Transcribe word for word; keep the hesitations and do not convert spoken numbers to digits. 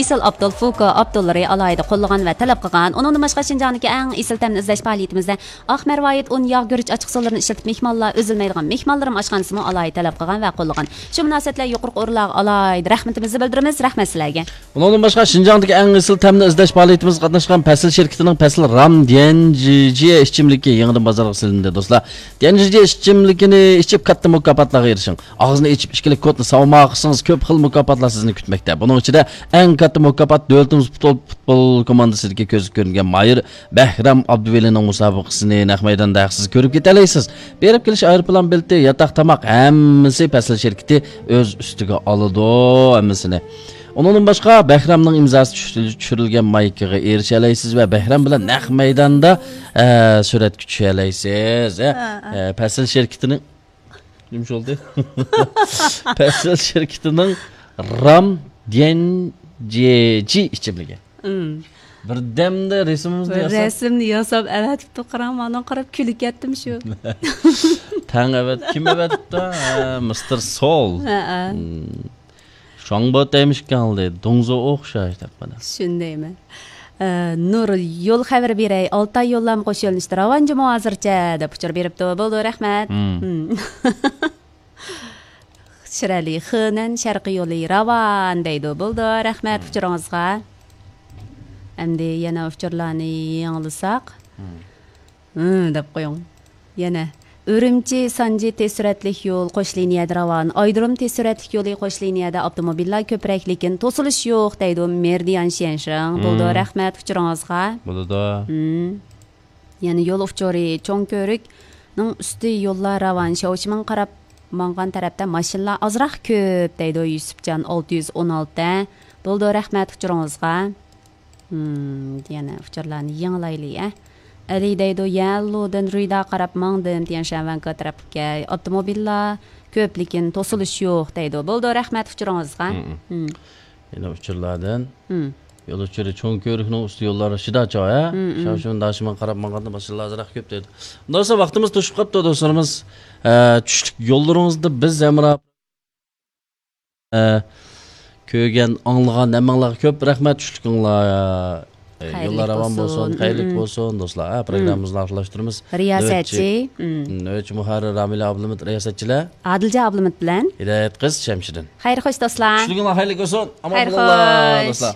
ئېسىل ئابدۇل فۇكو ئابدۇللىرى ئالاھىدە قوللىغان ۋە تەلەپ قىلغان. ئۇنىڭدىن باشقا، شىنجاڭدىكى ئەڭ ئېسىل تەمنى ئىزدەش پائالىيىتىمىزدە ئاق مەرۋايىت، ئۇن، ياغ، گۈرۈچ ئاچچىق سۇلىرىنى ئىشلىتىپ، مېھمانلار ئۈزۈلمەيدىغان مېھمانلىرىم ئاشخانىسىمۇ ئالاھىدە تەلەپ قىلغان ۋە قوللىغان. شۇ مۇناسىۋەت بىلەن يۇقىرىقى ئورۇنلارغا ئالاھىدە رەھمىتىمىزنى بىلدۈرىمىز. رەھمەت سىلەرگە. ئۇنىڭدىن باشقا، شىنجاڭدىكى ئەڭ ئېسىل تەمنى ئىزدەش پائالىيىتىمىزگە قاتناشقان پەسىل شىركىتىنىڭ پەسىل رام ديەنجىجيې ئىچىملىكى يېڭىدىن بازارغا سېلىندى، دوستلار. ديەنجىجيې ئىچىملىكىنى ئىچىپ، كاتتا مۇكاپاتلارغا ئېرىشىڭ. ئاغزىنى ئېچىپ، ئىككىلىك كودنى ساۋما قىلسىڭىز، كۆپ خىل مۇكاپاتلار سىزنى كۈتمەكتە. بۇنىڭ ئىچىدە ئەڭ كاتتا مۇكاپات دۆلىتىمىز پۇتبول، پۇتبول كوماندىسىدىكى كۆزگە كۆرۈنگەن ماھىر بەھرام ئابدۇۋەلىنىڭ مۇسابىقىسىنى نەق مەيداندا ھەقسىز كۆرۈپ كېتەلەيسىز. بېرىپ كېلىش ئايروپىلان بېلىتى، ياتاق، تاماق، ھەممىسى پەسىل شىركىتى ئۆز ئۈستىگە ئالىدۇ، ھەممىسىنى. ئۇنىڭدىن باشقا، بەھرامنىڭ ئىمزاسى چۈشۈرۈلگەن مايكىغا ئېرىشەلەيسىز ۋە بەھرام بىلەن نەق مەيداندا، ئە، سۈرەتكە چۈشەلەيسىز. ئە، ھە، ھە. ئە، پەسىل شىركىتىنىڭ، نېمە بولدى؟ پەسىل شىركىتىنىڭ رام ديەنجىجي ئىچىملىكى. ئىم. بىردەمدە رەسىمىمىزنى ياساپ، رەسىمنى ياساپ ئەۋەتىپتۇ، قاراڭ، مانا قاراپ كۈلۈپ كەتتىم شۇ. تەڭ ئەۋەت-، كىم ئەۋەتىپتۇ؟ ھە، مىستېر سول. ھەئە. ئىم. شاڭبو تەيمىشكاڭلى، دۇڭزۇ ئوخشاش دەپ مانا. شۇندايمۇ؟ ئە، نۇر، يول خەۋىرى بېرەي. ئالتاي يوللارمۇ قوش يۆنىلىشتە راۋان جۇمۇ ھازىرچە دەپ ئۇچۇر بېرىپتۇ. بولدى، رەھمەت. ئىم. ئىم. شىرئەلى، خېنەن شەرقىي يولى راۋان دەيدۇ. بولدى، رەھمەت ئۇچۇرىڭىزغا. ئەمدى يەنە ئۇچۇرلارنى يېڭىلىساق. ھىم، دەپ قويۇڭ. يەنە ئۈرۈمچى سانجى تېز سۈرئەتلىك يول قوش لىنىيەدە راۋان. ئايرودروم تېز سۈرئەتلىك يولى قوش لىنىيەدە ئاپتوموبىللار كۆپرەك، لېكىن توسۇلۇش يوق دەيدۇ مېرىدىيان شيەنشىڭ. بولدى، ھىم. رەھمەت ئۇچۇرىڭىزغا. بولىدۇ. ھىم. يەنە يول ئۇچۇرى، چوڭ كۆۋرۈكنىڭ ئۈستى يوللار راۋان، شياۋشىمىڭغا قاراپ ماڭغان تەرەپتە ماشىنىلار ئازراق كۆپ دەيدۇ يۈسۈپجان ئالتە يۈز ئون ئالتە. بولدى، رەھمەت ئۇچۇرىڭىزغا. ھىم، يەنە ئۇچۇرلارنى يېڭىلايلى، ئە. ئەلى دەيدۇ، يەنلۇدىن رۇيدا قاراپ ماڭدىم، تيەنشان ۋەنكا تەرەپكە. ئاپتوموبىللار كۆپ، لېكىن توسۇلۇش يوق دەيدۇ. بولدى، رەھمەت ئۇچۇرىڭىزغا. ھىم، ھىم. ھىم. يەنە ئۇچۇرلاردىن. ھىم. يول ئۇچۇرى چوڭ كۆۋرۈكنىڭ ئۈستى يوللار شىداچا، ھە؟ ھىم، ھىم. شاۋشىمىن داشىمىن قاراپ ماڭغاندا ماشىنىلار ئازراق كۆپ دەيدۇ. ئۇنداق بولسا ۋاقتىمىز توشۇپ قاپتۇ، دوستلىرىمىز. ئە، چۈشلۈك يوللىرىڭىزدا بىز ھەمراھ. ئە، كۆرگەن، ئاڭلىغان ھەممىڭلارغا كۆپ رەھمەت، چۈشلۈكۈڭلار. ئە، يوللار راۋان بولسۇن، خەيرلىك بولسۇن، دوستلار. ئە، پروگراممىمىزنى ئاخىرلاشتۇرىمىز. رىياسەتچى. نۆۋەتچى، ھىم، نۆۋەتچى مۇھەررىر رامىلە ئابلىمىت، رىياسەتچىلەر. ئادىلجان ئابلىمىت بىلەن ھىدايەت قىز شەمشىدىن. خەير خوش، دوستلار. چۈشلۈكۈڭلار خەيرلىك بولسۇن. ئامان بولۇڭلار، دوستلار.